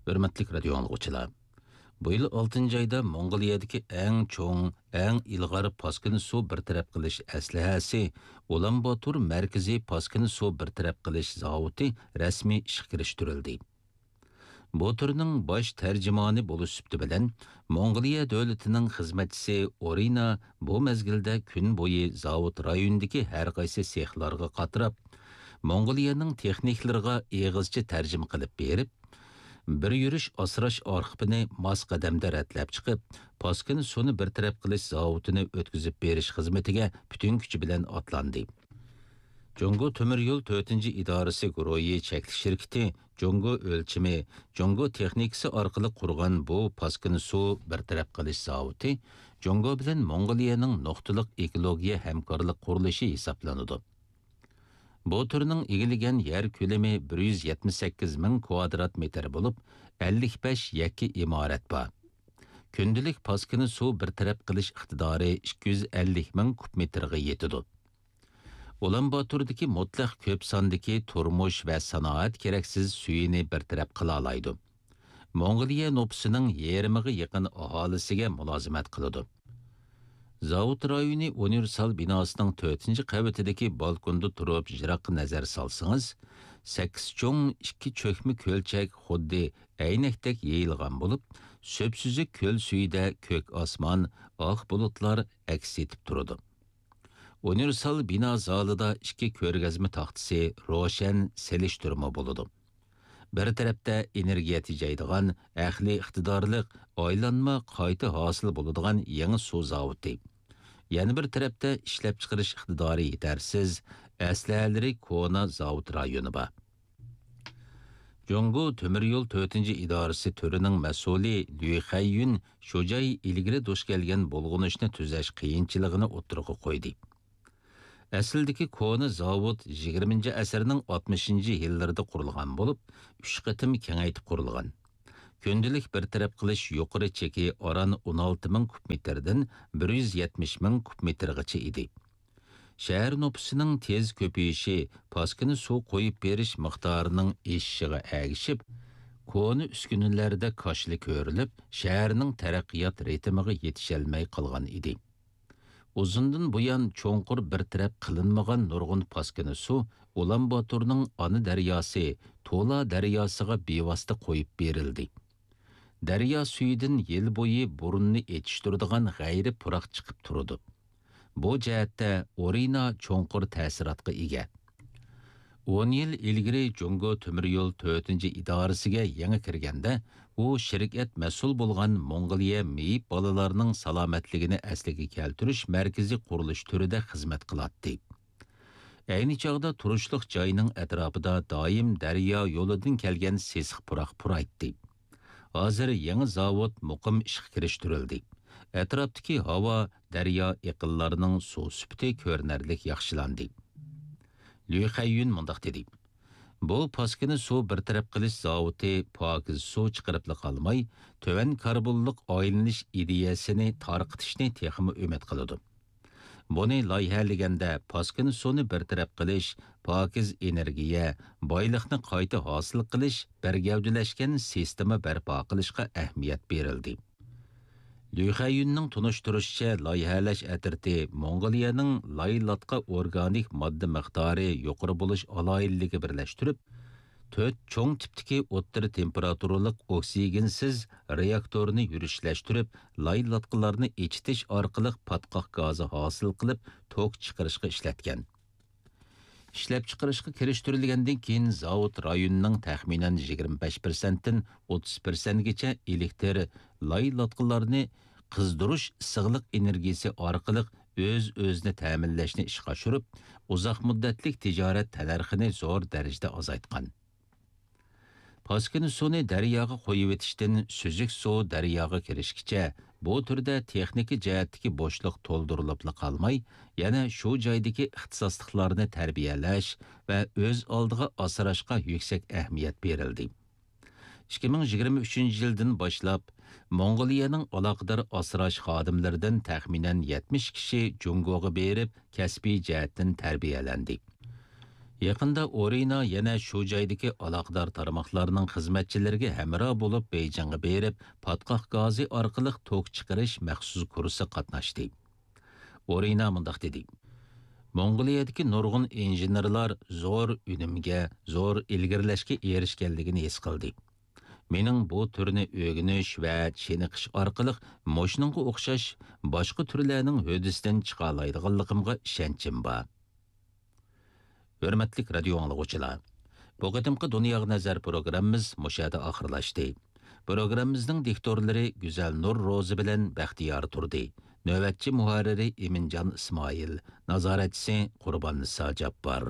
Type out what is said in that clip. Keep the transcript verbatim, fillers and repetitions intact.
ھۆرمەتلىك رادىيو ئاڭلىغۇچىلار، بۇ يىل ئالتىنچى ئايدا موڭغۇلىيەدىكى ئەڭ چوڭ، ئەڭ ئىلغار پاسكىنا سۇ بىر تەرەپ قىلىش ئەسلىھەسى ئۇلان باتۇر مەركىزىي پاسكىنا سۇ بىر تەرەپ قىلىش زاۋۇتى رەسمىي ئىشقا كىرىشتۈرۈلدى. بۇ تۈرنىڭ باش تەرجىمانى بولۇش سۈپىتى بىلەن، موڭغۇلىيە دۆلىتىنىڭ خىزمەتچىسى ئورىنا بۇ مەزگىلدە كۈن بويى زاۋۇت رايونىدىكى ھەر قايسى سېخلارغا قاتراپ، موڭغۇلىيەنىڭ تېخنىكلىرىغا ئېغىزچە تەرجىمە قىلىپ بېرىپ، بىر يۈرۈش ئاسراش ئارخىپىنى ماس قەدەمدە رەتلەپ چىقىپ، پاسكىنا سۇنى بىر تەرەپ قىلىش زاۋۇتىنى ئۆتكۈزۈپ بېرىش خىزمىتىگە پۈتۈن كۈچى بىلەن ئاتلاندى. جۇڭگو تۆمۈر يول تۆتىنچى ئىدارىسى گۇرۇھى چەكلىك شىركىتى جۇڭگو ئۆلچىمى، جۇڭگو تېخنىكىسى ئارقىلىق قۇرغان بۇ پاسكىنا سۇ بىر تەرەپ قىلىش زاۋۇتى جۇڭگو بىلەن موڭغۇلىيەنىڭ نۇقتىلىق ئېكولوگىيە ھەمكارلىق قۇرۇلۇشى ھېسابلىنىدۇ. بۇ تۈرنىڭ ئىگىلىگەن يەر كۆلىمى بىر يۈز يەتمىش سەككىز مىڭ كۋادرات مېتىر بولۇپ، ئەللىك بەش يەككە ئىمارەت بار. كۈندىلىك پاسكىنا سۇ بىر تەرەپ قىلىش ئىقتىدارى ئىككى يۈز ئەللىك مىڭ كۇب مېتىرغا يېتىدۇ. ئۇلان باتۇردىكى مۇتلەق كۆپ ساندىكى تۇرمۇش ۋە سانائەت كېرەكسىز سۈيىنى بىر تەرەپ قىلالايدۇ. موڭغۇلىيە نوپۇسىنىڭ يېرىمىغا يېقىن ئاھالىسىگە مۇلازىمەت قىلىدۇ. زاۋۇت رايونى ئۇنىۋېرسال بىناسىنىڭ تۆتىنچى قەۋىتىدىكى بالكوندا تۇرۇپ يىراققا نەزەر سالسىڭىز، سەككىز چوڭ، ئىككى چۆكمە كۆلچەك خۇددى ئەينەكتەك يېيىلغان بولۇپ، سۈپسۈزۈك كۆل سۈيىدە كۆك ئاسمان، ئاق بۇلۇتلار ئەكس ئېتىپ تۇرىدۇ. ئۇنىۋېرسال بىنا زالىدا ئىككى كۆرگەزمە تاختىسى روشەن سېلىشتۇرما بولىدۇ. بىر تەرەپتە ئېنېرگىيە تېجەيدىغان، ئەقلىي ئىقتىدارلىق، ئايلانما قايتا ھاسىل بولىدىغان يېڭى سۇ زاۋۇتى. يەنە بىر تەرەپتە ئىشلەپچىقىرىش ئىقتىدارى يېتەرسىز، ئەسلىھەلىرى كونا زاۋۇت رايونى بار. جۇڭگو تۆمۈر يول تۆتىنچى ئىدارىسى تۈرىنىڭ مەسئۇلى ليۇ خەييۈن شۇ جاي ئىلگىرى دۇچ كەلگەن بۇلغىنىشنى تۈزەش قىيىنچىلىقىنى ئوتتۇرىغا قويدى. ئەسلىدىكى كونا زاۋۇت يىگىرمىنچى ئەسىرنىڭ ئاتمىشىنچى يىللىرىدا قۇرۇلغان بولۇپ، ئۈچ قېتىم كېڭەيتىپ قۇرۇلغان. كۈندىلىك بىر تەرەپ قىلىش يۇقىرى چېكى ئاران ئون ئالتە مىڭ كۇب مېتىردىن بىر يۈز يەتمىش مىڭ كۇب مېتىرغىچە ئىدى. شەھەر نوپۇسىنىڭ تېز كۆپىيىشى، پاسكىنا سۇ قويۇپ بېرىش مىقدارىنىڭ ئېشىشىغا ئەگىشىپ، كونا ئۈسكۈنىلەردە كاشىلا كۆرۈلۈپ، شەھەرنىڭ تەرەققىيات رىتىمىغا يېتىشەلمەي قالغان ئىدى. ئۇزۇندىن بۇيان چوڭقۇر بىر تەرەپ قىلىنمىغان نۇرغۇن پاسكىنا سۇ ئۇلان باتورنىڭ ئانا دەرياسى، تولا دەرياسىغا بىۋاسىتە قويۇپ بېرىلدى. دەريا سۈيىدىن يىل بويى بۇرنىنى ئېچىشتۇرىدىغان غەيرىي پۇراق چىقىپ تۇرىدۇ. بۇ جەھەتتە ئورىنا چوڭقۇر تەسىراتقا ئىگە. ئون يىل ئىلگىرى جۇڭگو تۆمۈر يول تۆتىنچى ئىدارىسىگە يېڭى كىرگەندە، ئۇ شىركەت مەسئۇل بولغان موڭغۇلىيە مېيىپ بالىلارنىڭ سالامەتلىكىنى ئەسلىگە كەلتۈرۈش مەركىزى قۇرۇلۇش تۈرىدە خىزمەت قىلاتتى. ئەينى چاغدا تۇرۇشلۇق جاينىڭ ئەتراپىدا دائىم دەريا يولىدىن كەلگەن سېسىق پۇراق پۇرايتتى. ھازىر يېڭى زاۋۇت مۇقىم ئىشقا كىرىشتۈرۈلدى. ئەتراپتىكى ھاۋا، دەريا ئېقىنلارنىڭ سۇ سۈپىتى كۆرۈنەرلىك ياخشىلاندى. ليۇ خەييۈن مۇنداق دېدى: بۇ پاسكىنا سۇ بىر تەرەپ قىلىش زاۋۇتى پاكىز سۇ چىقىرىپلا قالماي، تۆۋەن كاربونلۇق ئايلىنىش ئىدىيەسىنى تارقىتىشنى تېخىمۇ ئۈمىد قىلىدۇ. بۇنى لايىھەلىگەندە پاسكىنا سۇنى بىر تەرەپ قىلىش، پاكىز ئېنېرگىيە، بايلىقنى قايتا ھاسىل قىلىش، بىر گەۋدىلەشكەن سىستېما بەرپا قىلىشقا ئەھمىيەت بېرىلدى. ليۇ خەييۈننىڭ تونۇشتۇرۇشىچە، لايىھەلەش ئەترىتى موڭغۇلىيەنىڭ لايلاتقا ئورگانىك ماددا مىقدارى يۇقىرى بولۇش ئالاھىدىلىكى بىرلەشتۈرۈپ، تۆت چوڭ تىپتىكى ئوتتۇرا تېمپېراتۇرىلىق ئوكسىگېنسىز رېئاكتورنى يۈرۈشلەشتۈرۈپ، لايلاتقىلارنى ئېچىتىش ئارقىلىق پاتقاق گازى ھاسىل قىلىپ، توك چىقىرىشقا ئىشلەتكەن. ئىشلەپچىقىرىشقا كىرىشتۈرۈلگەندىن كېيىن، زاۋۇت رايوننىڭ تەخمىنەن يىگىرمە بەش پىرسەنتتىن ئوتتۇز پىرسەنتكىچە ئېلېكتىر لايلاتقىلارنى قىزدۇرۇش ئىسسىقلىق ئېنېرگىيىسى ئارقىلىق ئۆز-ئۆزىنى تەمىنلەشنى ئىشقا ئاشۇرۇپ، ئۇزاق مۇددەتلىك تىجارەت تەننەرخىنى زور دەرىجىدە ئازايتقان. پاسكىنا سۇنى دەرياغا قۇيۇۋېتىشتىن سۈزۈك سۇ دەرياغا كىرىشكىچە، بۇ تۈردە تېخنىكا جەھەتتىكى بوشلۇق تولدۇرۇلۇپلا قالماي، يەنە شۇ جايدىكى ئىختىساسلىقلارنى تەربىيەلەش ۋە ئۆز ئالدىغا ئاسراشقا يۈكسەك ئەھمىيەت بېرىلدى. ئىككى مىڭ يىگىرمە ئۈچىنچى يىلدىن باشلاپ، موڭغۇلىيەنىڭ ئالاقىدار ئاسراش خادىملىرىدىن تەخمىنەن يەتمىش كىشى جۇڭگوغا بېرىپ، كەسپىي جەھەتتىن تەربىيەلەندى. يېقىندا ئورىنا يەنە شۇ جايدىكى ئالاقىدار تارماقلارنىڭ خىزمەتچىلىرىگە ھەمراھ بولۇپ بېيجىڭغا بېرىپ، پاتقاق گازى ئارقىلىق توك چىقىرىش مەخسۇس كۇرسىغا قاتناشتى. ئورىنا مۇنداق دېدى: موڭغۇلىيەدىكى نۇرغۇن ئىنژېنېرلار زور ئۈنۈمگە، زور ئىلگىرىلەشكە ئېرىشكەنلىكىنى ھېس قىلدى. مېنىڭ بۇ تۈرنى ئۆگىنىش ۋە چېنىقىش ئارقىلىق مۇشۇنىڭغا ئوخشاش باشقا تۈرلەرنىڭ ھۆددىسىدىن چىقالايدىغانلىقىمغا ئىشەنچىم بار. ھۆرمەتلىك رادىيو ئاڭلىغۇچىلار، بۇ قېتىمقى دۇنياغا نەزەر پروگراممىمىز مۇشۇ يەردە ئاخىرلاشتى. پروگراممىمىزنىڭ دىكتورلىرى گۈزەل نۇر روزى بىلەن بەختىيار تۇردى. نۆۋەتچى مۇھەررىرى ئىمىنجان ئىسمائىل، نازارەتچىسى قۇرباننىسا جاپپار.